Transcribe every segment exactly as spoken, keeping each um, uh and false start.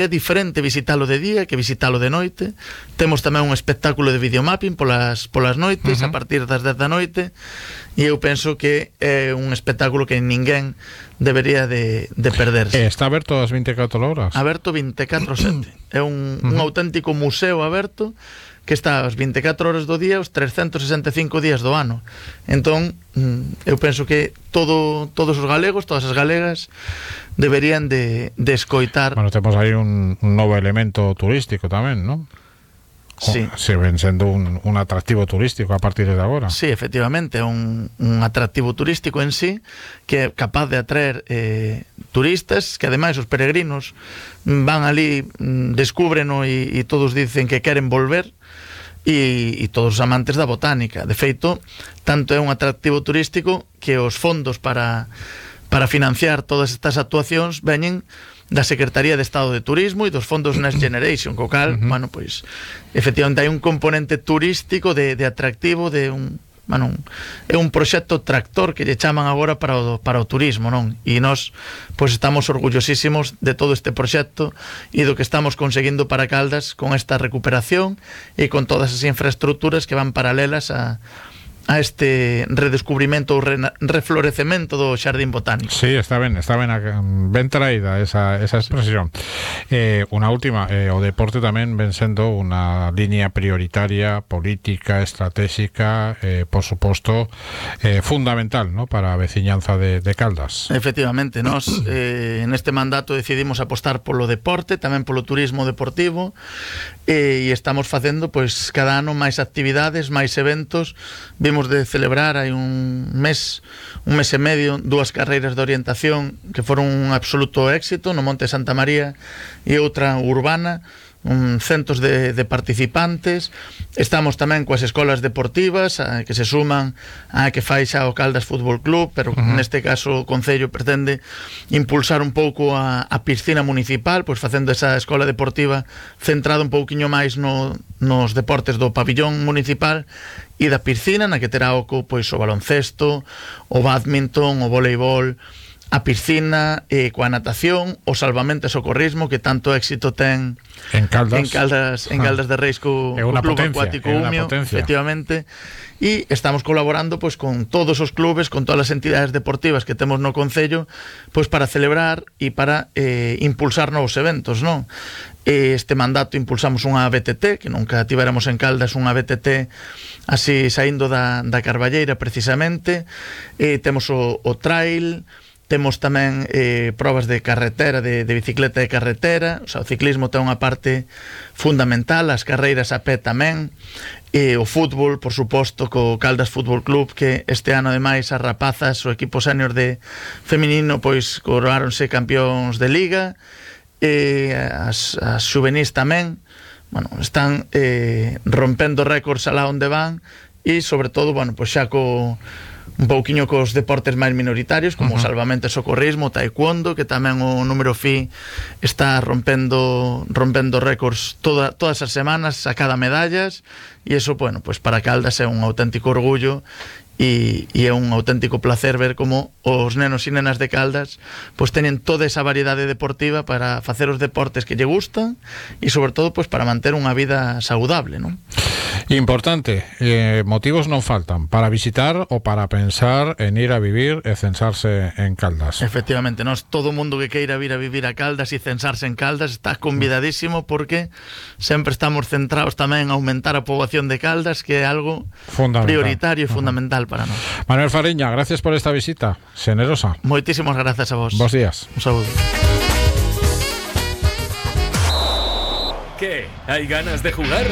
É diferente visitalo de día que visitalo de noite. Temos tamén un espectáculo de videomapping polas, polas noites, uh-huh. a partir das dez da noite, e eu penso que é un espectáculo que ninguén debería de, de perderse. Está aberto as veinticuatro horas? Aberto veinticuatro sete. É un, uh-huh. un auténtico museo aberto que está as veinticuatro horas do día, os trescentos sesenta e cinco días do ano. Entón, eu penso que todo, todos os galegos, todas as galegas deberían de, de escoitar. Bueno, temos aí un, un novo elemento turístico tamén, non? Sí. Se ven sendo un, un atractivo turístico a partir de agora. Sí, efectivamente, é un, un atractivo turístico en sí que é capaz de atraer eh, turistas, que ademais os peregrinos van ali, descúbreno e, e todos dicen que queren volver, e, e todos os amantes da botánica. De feito, tanto é un atractivo turístico que os fondos para, para financiar todas estas actuacións veñen da Secretaría de Estado de Turismo e dos fondos Next Generation, co cal, uh-huh. bueno, pois, efectivamente hai un componente turístico de, de atractivo, de un, bueno, é un proxecto tractor que lle chaman agora para o, para o turismo, non? E nós, pois, estamos orgullosísimos de todo este proxecto e do que estamos conseguindo para Caldas con esta recuperación e con todas as infraestructuras que van paralelas a a este redescubrimento ou re, reflorecemento do Xardín Botánico. Sí, está ben, está ben, ben traída esa, esa expresión. Eh, unha última, eh, o deporte tamén ven sendo unha liña prioritaria, política, estratégica, eh, por suposto, eh, fundamental, ¿no?, para a veciñanza de, de Caldas. Efectivamente, nós eh, en este mandato decidimos apostar polo deporte, tamén polo turismo deportivo, eh, e estamos facendo, pois, cada ano máis actividades, máis eventos. Vimos de celebrar hai un mes, un mes e medio, dúas carreiras de orientación que foron un absoluto éxito no Monte Santa María e outra urbana, un centos de, de participantes. Estamos tamén coas escolas deportivas a, que se suman a que fai xa o Caldas Fútbol Club, pero uh-huh. neste caso o Concello pretende impulsar un pouco a, a piscina municipal, pois facendo esa escola deportiva centrada un pouquiño máis no, nos deportes do pabillón municipal e da piscina, na que terá oco pois o baloncesto, o badminton, o voleibol, a piscina, eh, coa natación, o salvamento e socorrismo que tanto éxito ten en Caldas, en Caldas, en Caldas de Reis co, co Club potencia, Acuático Umio, efectivamente, e estamos colaborando pois con todos os clubes, con todas as entidades deportivas que temos no Concello, pois para celebrar e para eh, impulsar novos eventos, non? Este mandato impulsamos unha B T T, que nunca tivéramos en Caldas unha B T T así saindo da, da Carballeira precisamente, e temos o, o trail. Temos tamén eh, probas de carretera, de, de bicicleta de carretera. O sea, o ciclismo ten unha parte fundamental, as carreiras a pé tamén, e o fútbol, por suposto, co Caldas Fútbol Club, que este ano, ademais, as rapazas, o equipo senior de feminino, pois, coronáronse campións de liga, e as, as xuvenís tamén, bueno, están eh, rompendo récords alá onde van, e, sobre todo, bueno, pois xa co un pouquiño cos deportes máis minoritarios como uh-huh. o salvamento e socorrismo, o taekwondo, que tamén o número fi está rompendo rompendo récords toda, todas as semanas, a cada medallas, e eso, bueno, pues para Caldas é un auténtico orgullo e, e é un auténtico placer ver como os nenos e nenas de Caldas pues teñen toda esa variedade deportiva para facer os deportes que lle gustan e sobre todo pues para manter unha vida saudable, non? Importante, eh, motivos non faltan para visitar ou para pensar en ir a vivir e censarse en Caldas. Efectivamente, nós, todo o mundo que queira vir a vivir a Caldas e censarse en Caldas está convidadísimo, porque sempre estamos centrados tamén en aumentar a poboación de Caldas, que é algo prioritario e fundamental para nós. Manuel Fariña, gracias por esta visita generosa. Moitísimas grazas a vos. Bos días. Un saúdo. ¿Qué? ¿Hay ganas de jugar?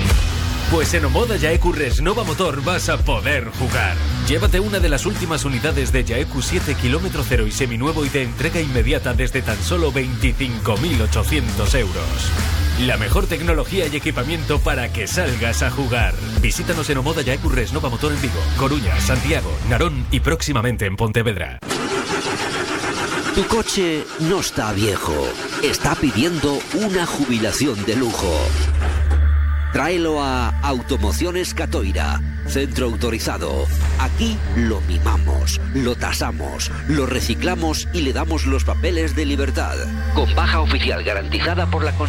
Pues en Omoda Yaeku Resnova Motor vas a poder jugar. Llévate una de las últimas unidades de Yaeku siete kilómetro cero y seminuevo y de entrega inmediata desde tan solo veinticinco mil ochocientos euros. La mejor tecnología y equipamiento para que salgas a jugar. Visítanos en Omoda Yaeku Resnova Motor en Vigo, Coruña, Santiago, Narón y próximamente en Pontevedra. Tu coche no está viejo, está pidiendo una jubilación de lujo. Tráelo a Automociones Catoira. Centro autorizado. Aquí lo mimamos, lo tasamos, lo reciclamos y le damos los papeles de libertad. Con baja oficial garantizada por la Consellería